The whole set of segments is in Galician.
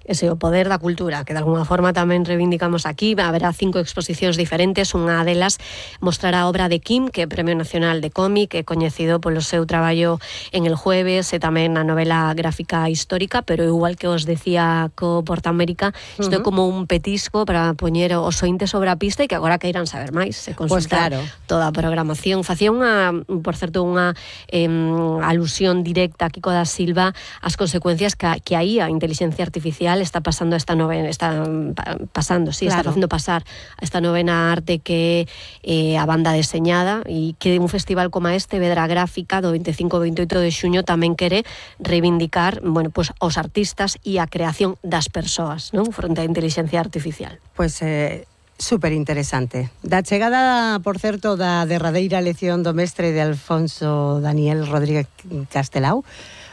Ese o poder da cultura, que de alguna forma tamén reivindicamos aquí. Haberá 5 exposicións diferentes. Unha delas mostrará a obra de Kim, que é Premio Nacional de Cómic, é coñecido polo seu traballo en El Jueves e tamén na novela gráfica histórica, pero igual que os decía co Portamérica, isto é como un petisco para poñer os ointes sobre a pista e que agora queiran saber máis, se consultar toda a programación. Facía por certo, unha alusión directa a Kiko da Silva ás consecuencias que aí a inteligencia artificial está pasando está facendo pasar a esta novena arte que é a banda deseñada, e que un festival como este, Vedra Gráfica, do 25 e 28 de xuño, tamén quere reivindicar, bueno, pues, os artistas e a creación das persoas, non? Fronte á inteligencia artificial. Pois super interesante. Da chegada, por certo, da derradeira lección do mestre de Alfonso Daniel Rodríguez Castelao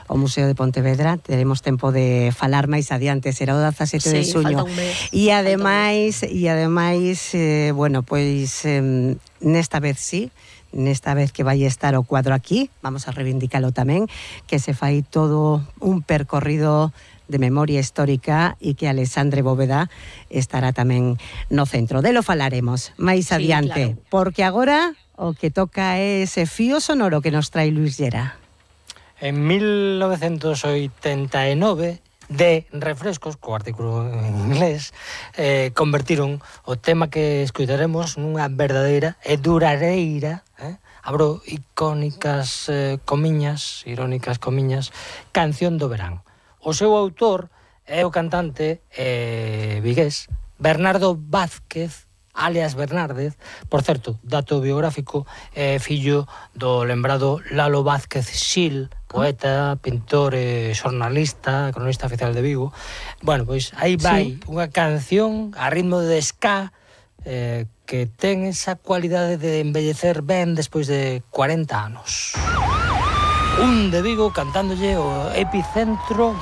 ao Museo de Pontevedra, teremos tempo de falar máis adiante, será o 17 de xuño. E ademais, bueno, pois nesta vez que vai estar o cuadro aquí, vamos a reivindicalo tamén, que se fai todo un percorrido de memoria histórica e que Alexandre Bóveda estará tamén no centro. Delo falaremos máis adiante, claro. Porque agora o que toca é ese fío sonoro que nos trae Luis Llera. En 1989, de Refrescos, co artículo en inglés, convertiron o tema que escutaremos nunha verdadeira e durareira, abro irónicas comiñas, canción do verán. O seu autor é o cantante vigués Bernardo Vázquez, alias Bernárdez. Por certo, dato biográfico, fillo do lembrado Lalo Vázquez Xil, poeta, pintor, xornalista, cronista oficial de Vigo. Bueno, pois aí vai unha canción a ritmo de ska que ten esa cualidade de embellecer ben despois de 40 anos. Un de Vigo cantándolle o Epicentro